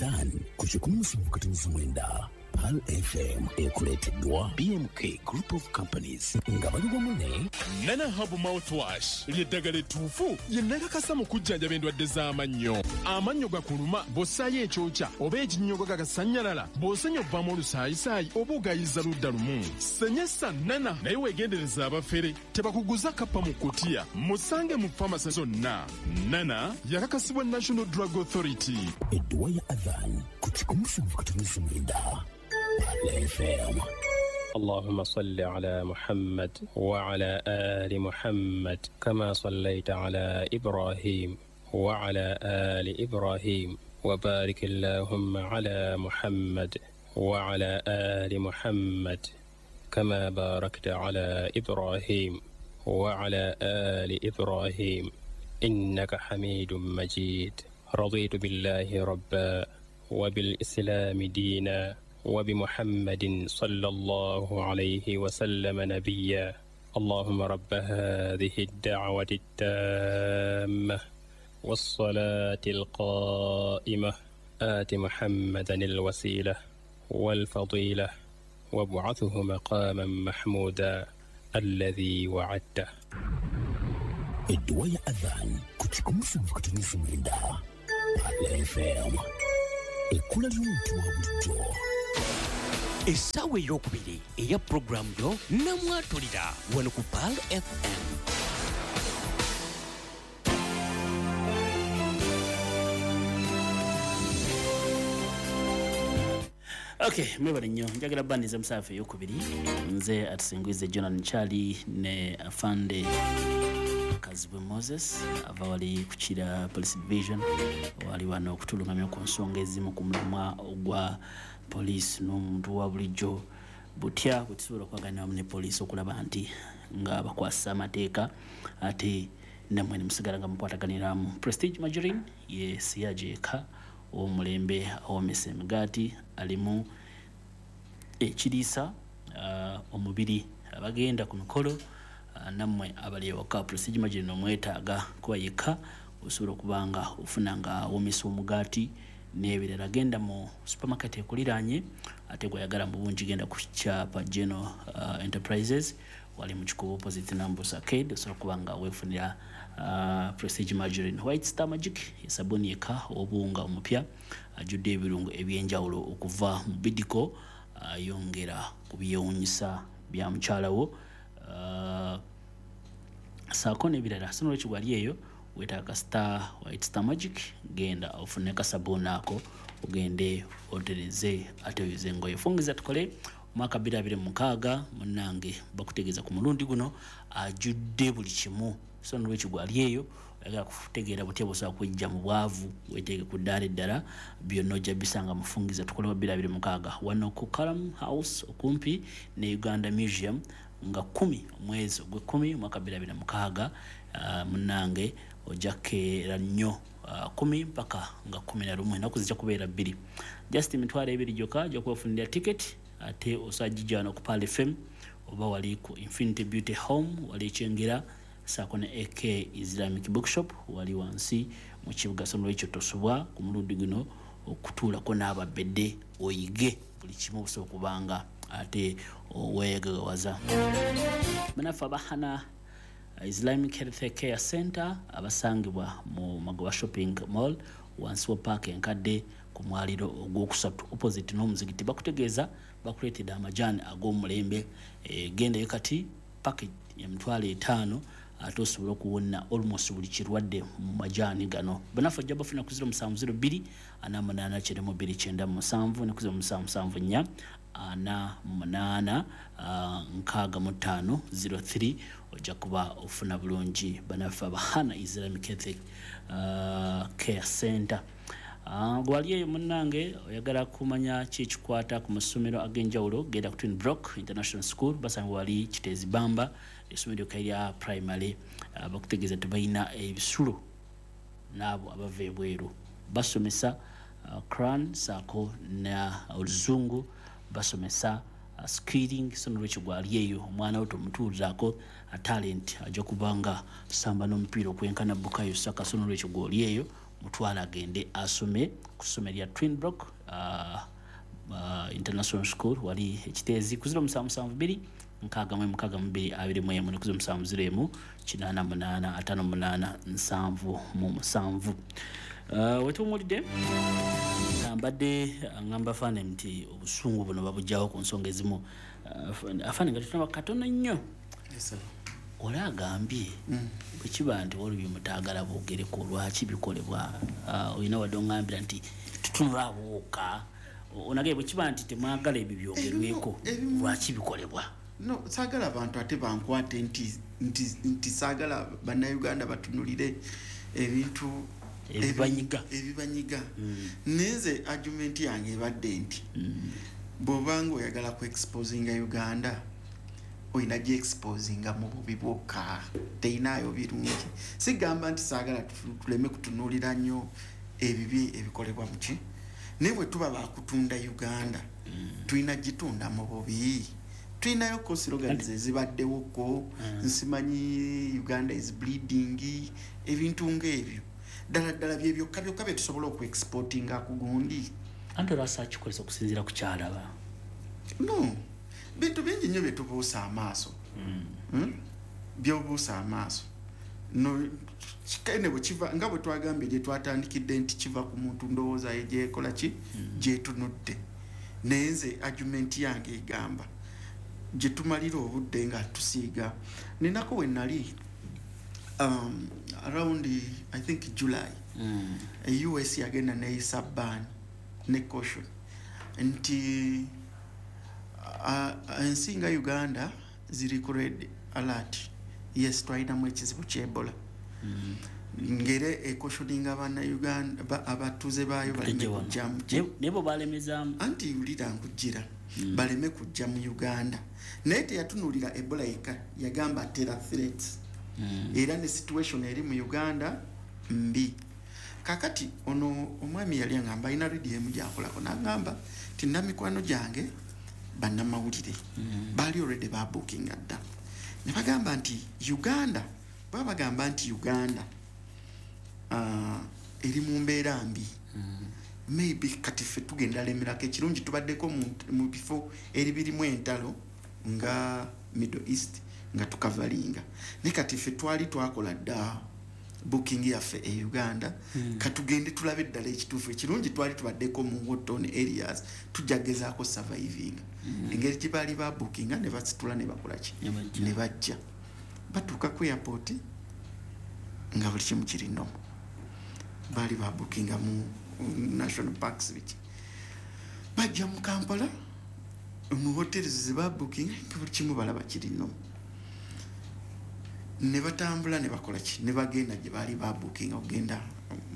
Adhan ku 107.9 Pearl FM ekuleeteddwa BMK Group of Companies nga bali wamu ne Nana Herbal Mouthwash ly'eddagala ettuufu lye nakakasa mu kujjanjaba endwadde z'amannyo. Amannyo gakuluma bw'ossaayo ekyokya oba ekinnyogo gagasannyalala, bw'osenya ovaamu olusaayisaayi oba ogayiza ludda lumu. Senyesa Nana naye weegendereza abafere tebakuguza kappa mu kutiya. Musange mu famasi zonna. Nana yakakasibwa National Drug Authority. Edduwa ya Adhan ku 107.9 Pearl FM. اللهم صل على محمد وعلى آل محمد كما صليت على إبراهيم وعلى آل إبراهيم وبارك اللهم على محمد وعلى آل محمد كما باركت على إبراهيم وعلى آل إبراهيم إنك حميد مجيد. رضيت بالله ربا وبالإسلام دينا وبمحمد صلى الله عليه وسلم نبيا. اللهم رب هذه الدعوة التامة والصلاة القائمة آت محمدا الوسيلة والفضيلة وابعثه مقاما محمودا الذي وعدته. Edduwa ya Adhan ku 107.9 Pearl FM. Ekkula ly'omuntu wa bulijjo. Essaawa ey'okubiri eya pulogulaamu yo namwatulira wano ku Pearl FM. Okay, mwebale nnyo, njagala bandiza musaafa ey'okubiri. Nze atusingwize Jonan Charlie ne Afande Kazibwe Moses ava wali kukira Police Division, wali wano okutulungamya ku nsonga ezimu ku mulamwa ogwa poliisi n'omuntu wa bulijjo, butya bwe tusobola okwaganira wamu ne poliisi okulaba nti nga bakwasa amateeka ate nammwe ne musigala nga mukwataganiramu. Prestige Margarine ye siyaje eka ow'omulembe awoomesa emigaati, alimu ekiriisa omubiri, abagenda ku mikolo nammwe abali ewaka. Prestige Margarine omwetaaga kuba yekka osobola okuba nga ofuna nga awoomesa omugaati n'ebirala. Genda mu supermarket ekuliraanye, ate gw'oyagala mu bungi genda ku kyapa General Enterprises wali mu Kikuubo opposite Nambus Arcade, osobola okuba nga weefunira Prestige Margarine. White Star Magic esabuni eka obuwunga omupya ajjudde ebirungo ebyenjawulo okuva mu Bidco, ayongera ku byewuunyisa bya mukyala wo saako n'ebirala. So nolwekyo gwali eyo weetaaga Star White Star Magic, genda ofune kasabuuni ako ogende otereze ate oyoze engoye. Fungiza tukole omwaka 2026 munnange bakutegeeza ku mulundi guno ajjudde buli kimu. So nolwekyo gwali eyo oyagala kutegeera butya bw'osobola kwejja mu bwavu, weeteeke ku ddaala eddala, byonna ojja bisanga mufungiza tukole wa 2026 wano ku Kalam House okumpi ne Uganda Museum nga 10 omwezi ogw'ekkumi omwaka 2026. Munnange ojja kukeera nnyo 10 mpaka nga 11, ennaku zijja kubeera 2, just 20,000 gyokka ojja kubafunira ticket, ate osobola gijja wano ku Pearl FM oba wali ku Infinity Beauty Home wali Kyengera, saako ne AK Islamic Bookshop wali wansi mu kibuga. So nolwekyo tosubwa ku mulundi guno okutuulako n'ababedde oyige buli kimu osobola okubanga ate weegagawaza. Bannaffe abahana Islamic Health Care Center abasangibwa mu Magoba Shopping Mall wansi wa paaka enkadde ku mwaliro ogwokusatu opposite n'omuzikiti, bakutegeeza bakuleetedde amajaani ag'omulembe. Gendayo kati package ya 500,000 ate osobola okuwona almost buli kirwadde mu majaani gano. Bannaffe ojja bafuna ku 0702 48 92 97 ne ku 0774 48 65 03 ojja kuba ofuna bulungi. Bannaffe abahana Islamic Health Care Center. Gwali eyo munnange oyagala kumanya ki ekikwata ku masomero ag'enjawulo, genda ku Twin Brock International School basangibwa wali Kiteezi Bamba, essomero lyokka erya primary. Bakutegeeza tebalina ebisulo n'abo abava ebweru, basomesa Quran saako na oluzungu, basomesa skilling. So nolwekyo gwali eyo omwana wo tomutuuzaako talent, ajja kubanga samba n'omupiira okwenkana Bukayo Saka. So nolwekyo gwoli eyo Mutwala agende asome ku ssomero lya Twinbrook International School wali ekiteezi ku 0772 66 21 ne ku 0701 88 58 77. Wetuwummulidde mbadde ngamba faane nti obusungu buno babugyawo ku nsonga ezimu. Afaane nga tutunaba katono nnyo. Oli agambye bwe kiba nti waliwo bye mutaagala boogereko, lwaki bikolebwa? Olina wadde oŋŋambira nti tutunula awo wokka. Onagambye bwe kiba nti temwagala ebyo byogerweko, lwaki bikolebwa? No, saagala abantu ate bankwate nti saagala Bannayuganda batunulire ebintu ebibanyiga. Ebibanyiga. Naye nze argument yange ebadde nti bw'obanga oyagala ku exposinga Uganda, olina gi exposinga mu bubi bwokka, teyinaayo birungi. Sigamba nti saagala tuleme kutunuulira nnyo ebibi ebikolebwa muki, naye bwe tuba bakutunda Uganda, tulina gitunda mu bubi. Tulinayo ko slogans ezibaddewoko, nsimanyi "Uganda is bleeding", ebintu ng'ebyo. Ddala ddala bye byokka byokka bye tusobola okuexportinga ku gundi? Anti olwasa akikozesa okusinziira ku kyalaba. No, bintu bingi nnyo bye tubuusa amaaso. Byobuusa amaaso no kikene bwe kiva, nga bwe twagambye gye twatandikidde, nti kiva ku muntu ndowooza ye gyekola ki gyetunudde. Naye nze argument yange egamba gye tumalira obudde nga tusiiga. Ninako we nali around, I think, July, US yagenda neyisa ban ne caution nti ensi nga Uganda ziri ku red alert. Yes, twalinamu ekizibu ky'Ebola, ngere ecautioninga Bannayuganda, abatuuze baayo baleme Tujje wano. kujja mu Naye bo balemezaamu. Anti wulira, nkujjira. Baleme kujja mu Uganda, naye teyatunuulira Ebola yekka, yagamba terror threats era ne situation eri mu Uganda mbi. Kakati ono omwami yali aŋŋamba, alina rediyo emu gyakolako, n'aŋŋamba ti namikwano gyange bannamawulire baali already babuukinga dda, ne bagamba nti Uganda, baba bagamba nti Uganda eri mu mbeera mbi. Maybe kati ffe tugenda lemerako. Ekirungi tubaddeko mu bifo eribirimu entalo nga Middle East nga tukavalinga, naye kati ffe twali twakola dda booking yaffe e Uganda. Katugende tulabe eddala ekituufu. Ekirungi twali tubaddeko mu war-torn areas, tujja gezaako surviving. Engeri gye baali babookinga, ne basitula ne bakolaki, Ne bajja. ne bajja, batuuka ku airport nga buli kimu kiri normal. Baali babookinga mu national parks, biki. Bajja mu Kampala mu hotels ze babookinga, nga buli kimu balaba kiri normal, ne batambula ne bakola ki, ne bagenda gye baali babookinga okugenda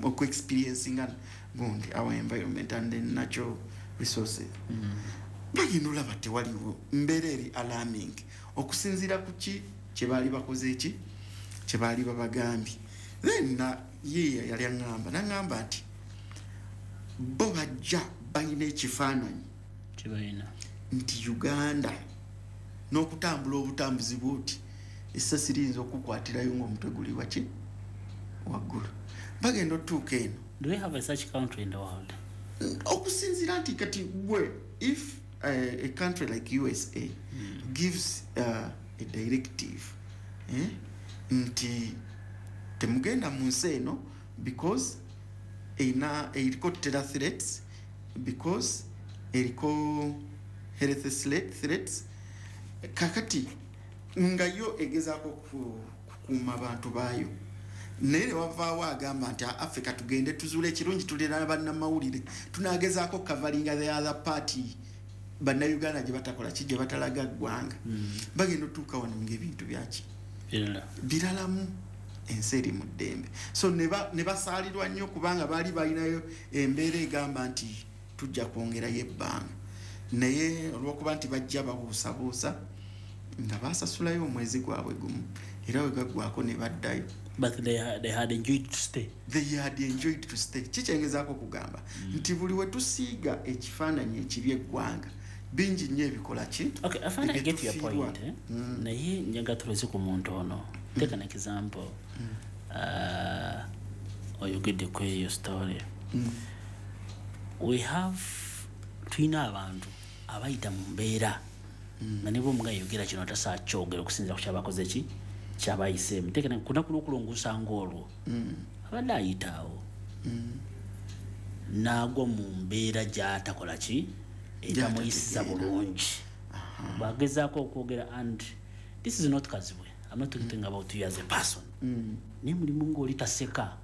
okuexperiencinga gundi, our environment and the natural resources. Bagenda olaba tewaliwo mbeera eri alarming okusinziira ku ki kye baali bakoze, eki kye baali babagambye. Then na ye yali aŋŋamba, naŋŋamba nti bo bajja balina ekifaananyi Kibalina. nti Uganda n'okutambula obutambuzi bwoti, essasi liyinza okukwatirayo ng'omutwe guli waki waggulu. Bagenda otuuka eno. Do we have a such country in the world? Okusinziira nti kati gwe, if a country like USA gives a directive, nti temugenda mu nsi eno because erina, eriko terror threats, because eriko health threats, kakati nga yo egezaako kukuuma abantu baayo, naye ne wavaawo agamba nti Africa tugende tuzuule. Ekirungi tulina bannamawulire, tunagezaako coveringa the other party Bannayuganda gye batakola ki, gye batalaga ggwanga. Bagenda otuuka wano ngaebintu byaki? Birala. Biralamu, ensi eri mu ddembe. So ne basaalirwa nnyo kubanga baali balinayo embeera egamba nti tujja kwongerayo ebbanga, naye olwokuba nti bajja babuusabuusa, nga basasulayo omwezi gwabwe gumu, era we gaggwako ne baddayo. But they had enjoyed to stay. They had enjoyed to stay. Kikyengezaako okugamba nti buli we tusiiga ekifaananyi ekibi eggwanga, bingi nnyo ebikola ki? Okay, I find I get your Ebitufiirwa. point, eh? Naye njaga tuloze ku muntu ono. Take an example. Oyogedde ku eyo story. We have, tulina abantu abayita mu mbeera nga ne bwomuga yogera kino tasaa kyogera okusinziira ku kyabakoze ki kyabayiseemu. Tekena ku lunaku lw'okulongoosa ng'olwo abadde ayita awo n'agwa mu mbeera gy'atakola ki etamuyisiza bulungi, bwagezaako okwogera. And this is not Kazibwe, I'm not talking about you as a person, naye mulimu ng'oli taseka,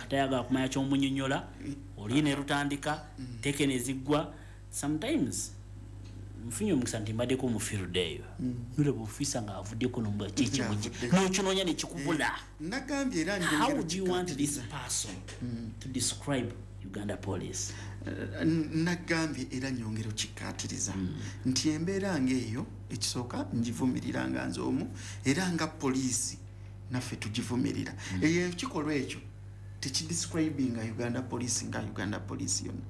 tayagala kumanya kyomunyonyola, oli ne lutandika tekene ziggwa. Sometimes nfunye omukisa nti mbaddeko mu field eyo, nolaba ofiisa ng'avuddeko nomba kyekimugi n'okinoonya nekikubula. Nagambye era How would you want this person to describe Uganda Police? Nagambye era nyongera okikkaatiriza nti embeera ng'eyo, ekisooka ngivumirira nga nze omu, era nga poliisi naffe tugivumirira. Eyo ekikolwa ekyo tekidescribinga Uganda Police nga Uganda Police yonna,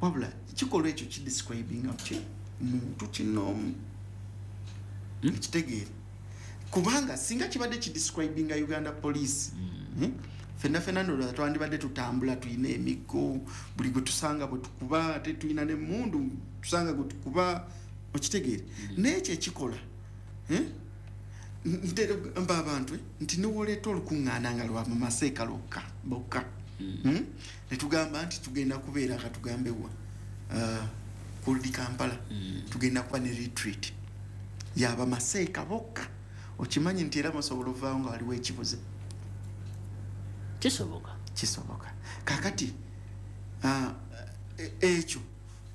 wabula ekikolwa ekyo kidescribinga ki muntu kinoomu. Ekitegeere, kubanga singa kibadde kidescribinga Uganda Police, fenna fenna ndowooza twandibadde tutambula tulina emiggo, buli gwe tusanga bwe tukuba, ate tulina n'emmundu tusanga gwe tukuba. Okitegeere? Naye ekyo ekikola, ntera mba abantu nti newoleeta olukuŋŋaana nga lwa mu maseeka lwokka bokka, ne tugamba nti tugenda kubeera, katugambe wa, kuldi Kampala, tugenda kuba ne retreat yaba maseeka bokka, okimanyi nti era musobola ovaawo nga waliwo ekibuze. Kisoboka. Kisoboka. Kakati ekyo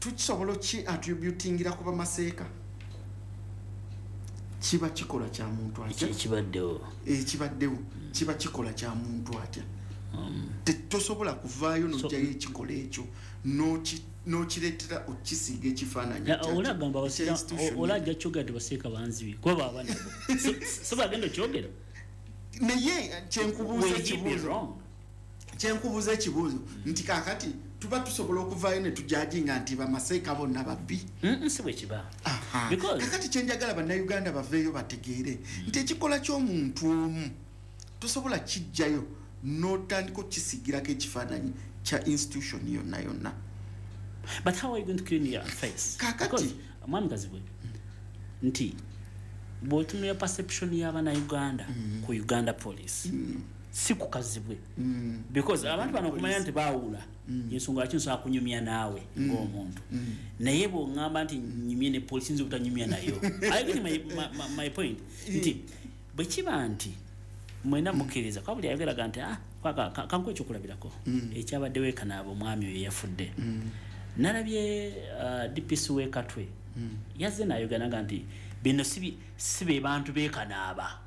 tukisobola ki attributingira kuba maseeka? Kiba kikola kya muntu atya? Ekibaddewo. Ekibaddewo kiba kikola kya muntu atya? Tosobola kuvaayo n'oggyayo ekikola ekyo n'okireetera okisiiga ekifaananyi. Olagamba olajja kyogera nti baseeka banzibi kuba baba nabo, so bagenda okyogera. Naye kyenkubuuza ekibuuzo nti kakati tuba tusobola okuvaayo ne tujajinga nti bamaseeka bonna babbi? Si bwe kiba. Kakati kyenjagala bannayuganda baveeyo bategeere nti ekikola ky'omuntu omu tosobola kijjayo n'otandika okukisigirako ekifaananyi kya institution yonna yonna. But how are you going to clean your face? Kakati mwami Kazibwe, nti bw'otunula perception y'abannayuganda ku Uganda Police, si ku Kazibwe, because abantu bano okumanya nti baawula, ensonga lwaki nsobola kunyumya naawe ng'omuntu, naye bw'oŋŋamba nti nyumye ne poliisi, nza obutanyumya nayo. I get my point nti bwe kiba nti mwena mukkiriza kuba buli ayogeraga nti kankuwa ekyokulabirako ekyabaddewo e Kanaaba, omwami oyo eyafudde, nalabye DPC w'e Katwe yazze n'ayogera naga nti bino si be bantu b'e Kanaaba,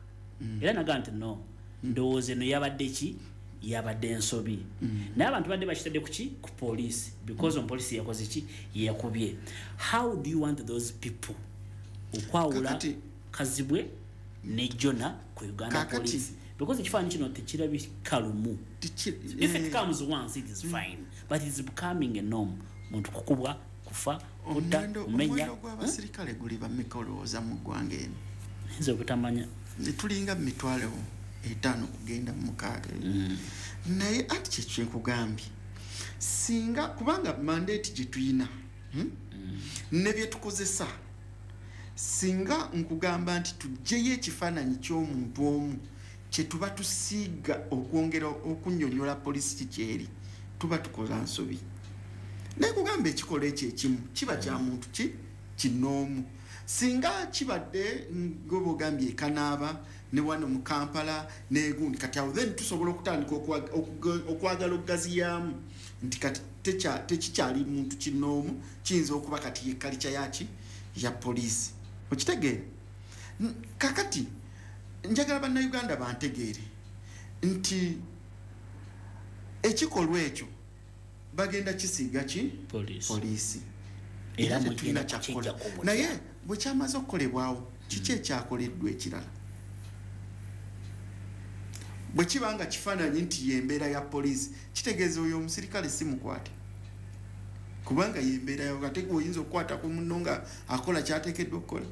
era naga nti no, ndowooza eno yabadde ki, yabadde ensobi, naye abantu badde bakitadde ku ki, ku poliisi, because omupoliisi yakoze ki, yakubye. How do you want those people okwawula Kazibwe ne Jona ku Uganda Police? Because ekifaananyi kino tekirabika lumu. If it comes once it is fine, but it's becoming a norm. Muntu kukubwa, kufa, kutta, kumenya. Omuwendo gw'abasirikale guli bameka olowooza mu ggwanga eno? Nze obutamanya. Tulinga mu 5,000 kugenda mu 6. Naye ati kye kyenkugambye, singa kubanga mandate gye tuyina ne bye tukozesa, singa nkugamba nti tuggyeyo ekifaananyi ky'omuntu omu kye tuba tusiiga okwongera okunnyonnyola poliisi kikyeri, tuba tukola nsobi. Naye kugamba ekikola ekyo ekimu kiba kya muntu ki kinoomu. Singa kibadde ngoba ogambye e Kanaaba ne wano mu Kampala n'egundi, kati awo then tusobola okutandika okwagala okugaziyaamu nti kati tekikyali muntu kinoomu, kiyinza okuba kati ye kalica yaki ya poliisi. Okitegeera? Kakati njagala bannayuganda bantegeere nti ekikolwa ekyo bagenda kisiiga ki poliisi, era tetulina kyakukola. Naye bwe kyamaze okukolebwawo, kiki ekyakoleddwa ekirala? Bwe kiba nga kifaananyi nti y'embeera ya poliisi, kitegeeza oyo omusirikale si mukwate, kubanga y'embeera yawo. Ate oyinza okukwata ku munno nga akola kyateekeddwa okukola,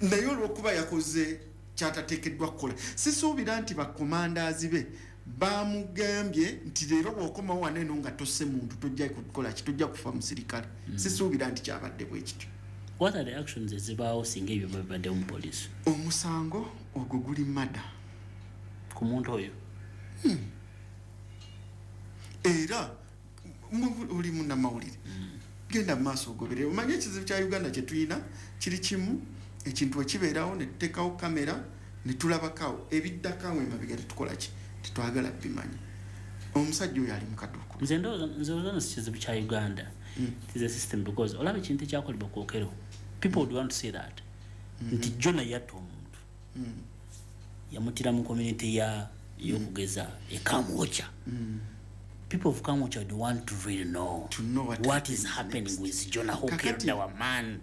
naye olw'okuba yakoze Kyatateekeddwa kukola. Sisuubira nti bakomandazi be bamugambye nti leero bw'okomawo wano eno nga tosse muntu tojja kukola ki, tojja kufa musirikale. Sisuubira nti kyabadde bwe kityo. What are the actions ezibaawo singa ebyo babaddewo mu poliisi? Omusango ogwo guli mada ku muntu oyo. Era oli munnamawulire, genda mu maaso ogoberere. Omanye ekizibu kya Uganda kye tulina kiri kimu, ekintu ekibeerawo ne tuteekawo kamera ne tulabakawo, ebiddako awo emabega tetukola ki, tetwagala bimanya. Omusajja oyo ali mu kaduuko. Nze ndowooza si kizibu kya Uganda. It is a system, because olaba ekintu ekyakolebwa ku Okello, people would want to say that nti Jona yatta omuntu, yamutira mu community ya y'okugeza e Kamwokya. People of Kamwokya would want to really know, to know what is happening next with Jonah who Kakati, killed our man.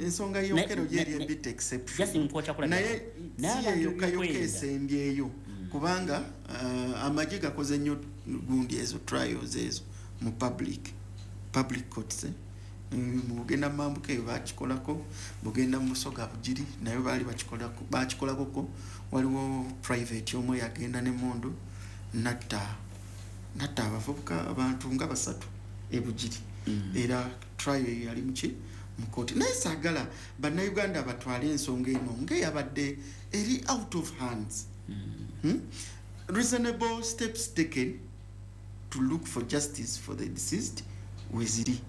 Ensonga y'Okello yeri a bit exception. Just nkwokya kulabira. Naye Naye si abantu yeyokka yokka ebikwenda. esembyeyo, kubanga amagye gakoze nnyo gundi ezo trials ezo mu public courts, eh? Mugenda mambuka eyo bakikolako, mugenda mu Busoga Bugiri nayo baali bakikolako. Waliwo private omu yagenda n'emmundu natta abavubuka abantu nga basatu e Bugiri. Era trial eyo yali muki mu kooti. Naye saagala bannayuganda batwale ensonga eno ng'eyabadde eri out of hands. Reasonable steps taken to look for justice for the deceased weziri.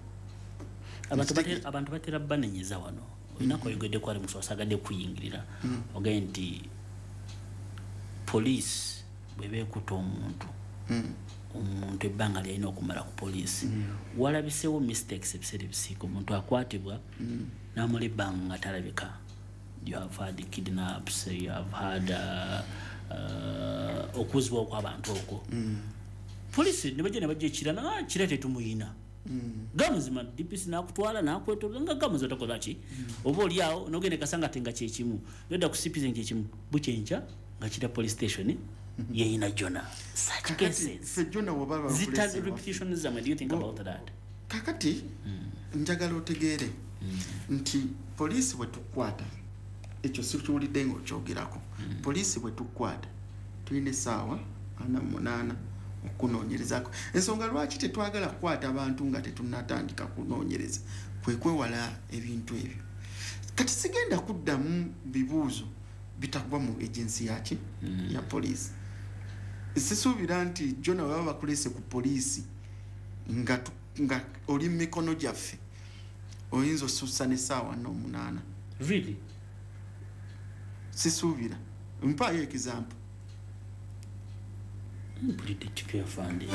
Abantu batera banenyeza wano. Olina oyogeddeko ali muso asagadde kuyingirira. Ogambye nti poliisi bw'eba ekutte omuntu, omuntu ebbanga lyalina okumala ku poliisi. Walabiseewo mistakes ebiseera ebisinga, omuntu akwatibwa n'amala ebbanga nga talabika. You have had kidnaps, you have had okuzibwa kw'abantu okwo. Poliisi ne bajja ne bajja ekira, na kira tetumuyina. Gamuzima DPC n'akutwala n'akwetoloola nga gamuzima takola ki? Oba oli awo n'ogenda e Kasanga ate nga kye kimu, n'odda ku CPC nga kye kimu, bukyenkya nga kira police station yeyina Jona. Such Kakati, cases. ffe Jona bw'oba Zita bakulese waffe. repetition zammwe, do you think about that? Kakati njagala otegeere nti poliisi bwe tukwata, ekyo sikiwulidde ng'okyogerako. Poliisi bwe tukwata tulina essaawa 48 okunoonyerezaako. Ensonga lwaki tetwagala kukwata abantu nga tetunnatandika kunoonyereza kwe kwewala ebintu ebyo. Kati sigenda kuddamu bibuuzo bitagwa mu agency yaki ya poliisi. Sisuubira nti Jona bwe baba bakuleese ku poliisi nga oli mu mikono gyaffe oyinza osussa n'essaawa 48. Really? Sisuubira. Mpaayo example. Mpulidde kipya afande.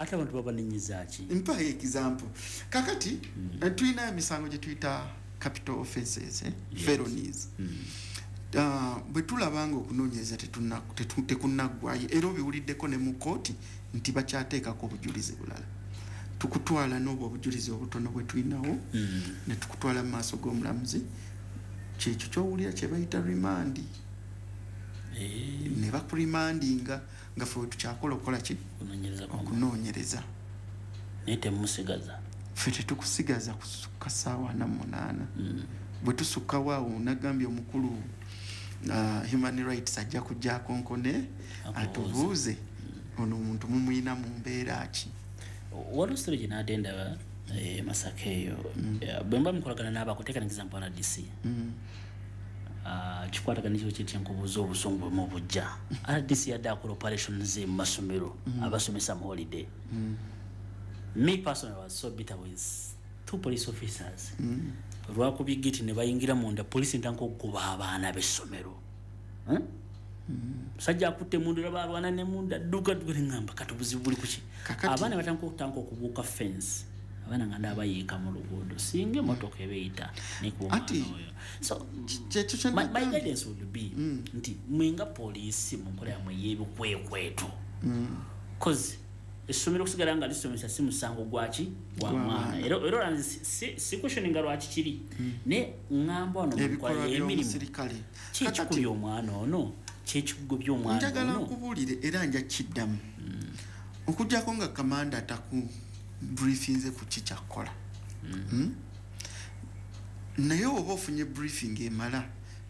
Ate abantu babanenyeza ki? Mpaayo example. Kakati tulina emisango gye tuyita capital offenses, eh? Felonies. Bwe tulaba nga okunoonyereza tekunnaggwayo, era obiwuliddeko ne mu kkooti nti bakyateekako obujulizi bulala, tukutwala n'obwo obujulizi obutono bwe tulinawo ne tukutwala mu maaso g'omulamuzi. Kyekyo ky'owulira kye bayita remand. Ne bakurimandinga nga ffe tukyakola okukola ki? Okunoonyereza kwa Okunoonyereza. Naye temusigaza. Ffe tetukusigaza kusukka ssaawa 48. Bwe tusukkawo awo nagambye omukulu human rights ajja kujja akonkone Akubuuze. atubuuze ono omuntu mumuyina mu mbeera ki. Waliwo story gye naadde ndaba Masaka eyo. Bwe mba mukolagana n'abako, take an example RDC. Kikwatagana n'ekyo kye nkubuuza obusungu bwe mubujja. RDC yadde akola operations mu masomero, abasomesa mu holiday. Me personally was so bitter with two police officers. Olwakubye gate ne bayingira munda, poliisi ntandika okukuba abaana b'essomero. Musajja akutte emmundu era balwana n'emmundu, adduka adduka, ne ŋŋamba kati obuzibu buli ku ki? Kakati Abaana batandika okutandika okubuuka fence. Abaana nga ndaba bayiika mu luguudo, singa emmotoka eba eyita nekuba omwana Anti, oyo. So, kyekyo kye my nagambye. guidance would be nti mwe nga poliisi mu nkola yammwe ey'ebikwekweto. 'Cause essomero okusigala nga lisomesa si musango gwaki? Gwa Gwa mwana. mwana. Era olaba nze si questioninga lwaki kiri. Ne ŋŋamba wano mu nkola Ebikolwa y'emirimu, by'omusirikale. ki ekikubye omwana ono? Ki ekikugobye omwana Njagala ono? nkubuulire era nja kiddamu. Okuggyako nga kamanda ataku briefinze ku ki kyakkola. Naye oba ofunye briefing emala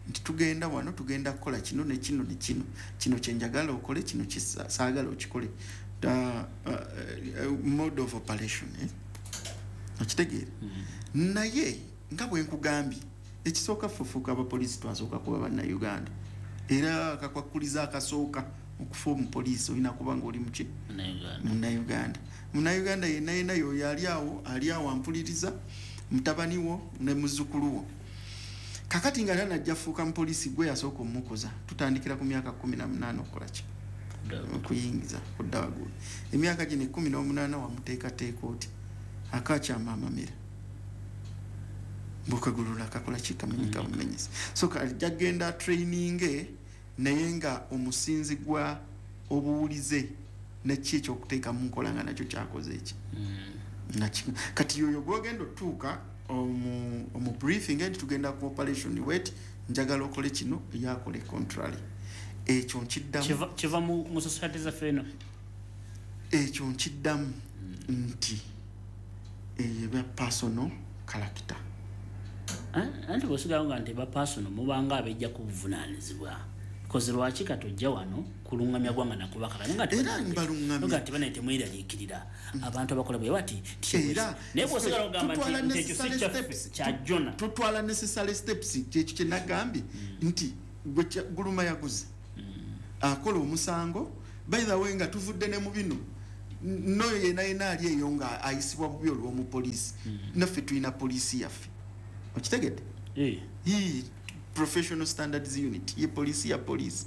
Nti tugenda wano, tugenda kukola kino ne kino ne kino, kino kyenjagala okole, kino saagala okikole. Mode of operation, eh? Okitegeera? Naye nga bwe nkugambye, ekisooka, fufuuka abapoliisi twasooka kuba Bannayuganda, era akakwakuliza akasooka okufa omupoliisi olina kuba nga oli muki? Munnayuganda. Munnayuganda yenna yenna yoyo ali awo, ali awo ampuliriza, mutabani wo ne muzzukulu wo, kakati nga tanajja fuuka mupoliisi, gwe yasooka omukuza. Tutandikira ku myaka 18 okukola ki? Okuyingiza kudda waggulu. Emyaka gino 18 wamuteekateeka oti akakyama amamira bukagulula kakola ki? Kamenyeka bumenyesi. So ajja kugenda training, naye nga omusinzi gwa obuwulize neki ekyokuteeka mu nkola nga nakyo kyakoze eki. Kati yoyo gwogenda otuuka omu briefing nti tugenda ku operation, wet njagala okole kino, yakole contrary. Ekyo nkiddamu. Kiva mu society zaffe eno. Ekyo nkiddamu nti eyo eba personal character. Anti bwosigawo nga nti eba personal, mubanga abejja ku buvunaanyizibwa, koze lwaki kati ojja wano kulungamya gwanga nakubakaka? Era mbalungamya. Nti banaye temweraliikirira, abantu abakola bwe bati. Era naye bwosigala ogamba nti ekyo si kyaffe, kya Jona. Tutwala necessary steps. Kyekyo kyenagambye nti guluma yaguze akola omusango. By the way, nga tuvudde ne mu bino, noyo yena yena ali eyo nga ayisibwa bubi olw'omupoliisi, naffe tulina poliisi yaffe, okitegedde? Professional Standards Unit ye poliisi ya poliisi.